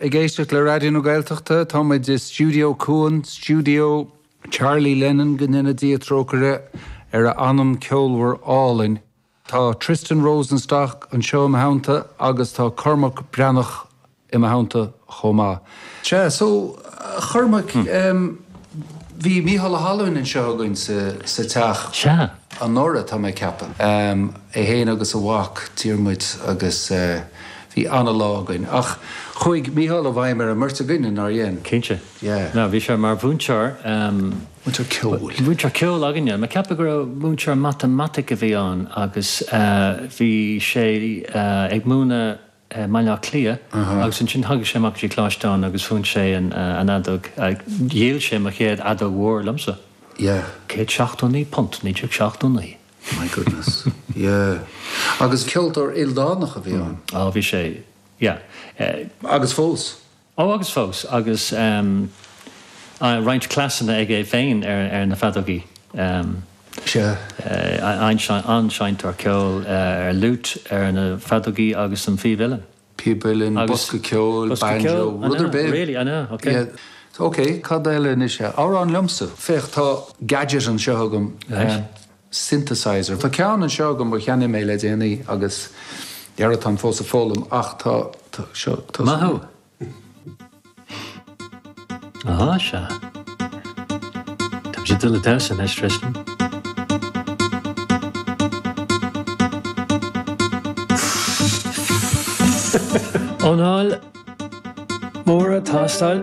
Ag éisteacht le Raidió na Gaeltachta, tá muid i Stiúideo Cuan, stiúideo Charlie Lennon, go ndéana Dia trócaire ar a anam ceolmhar álainn. Tá Tristan Rosenstock anseo i mo theannta agus tá Cormac Breathnach i mo theannta chomh maith. Sea, so, a Chormaic, bhí Mícheál Ó hAlmhain anseo againn sa teach. Sea. Anuraidh, tá mé ag ceapadh. É féin agus a mhac, Diarmuid, agus bhí ana-lá againn. Ach chuaigh Mícheál i bhfeidhm ar an mbeirt againne, nár dhein? Cinnte. Yeah. Ná, bhí sé mar mhúinteoir. Múinteoir ceoil. Múinteoir ceoil againne. Mé ag ceapadh go raibh múinteoir matamaitic a bhí ann agus bhí sé ag múineadh i mBaile Átha Cliath agus ansin thagadh sé amach go dtí Coláiste Eoin agus mhúin sé an fheadóg, dhíol sé mo chéad fheadóg mhór liomsa. Yeah. £179, 1979. My goodness. Yeah. Agus ceoltóir ildánach a bhí ann. Á, bhí sé, yeah. Agus fós. Ó, agus fós, agus roinnt cleasanna aige féin ar na feadógaí. Sea. An-seinnteoir ceoil ar fhliúit, ar na feadógaí agus an phíb uilleann. Píb uilleann, bosca ceoil, banjo, rud ar bith. Really, I know, ok. Yeah. Ok, cad eile anois? Amhrán liomsa. Féach, tá gadget anseo agam. Right. Synthesizer. Tá ceann anseo agam a cheannaigh mé le déanaí agus dhera táim fós ag foghlaim ach tá, tá, seo, tá. Maith thú! Á, sea. Tá muid ag dul ag damhsa anois, Tristan. Anáil mhór ag teastáil.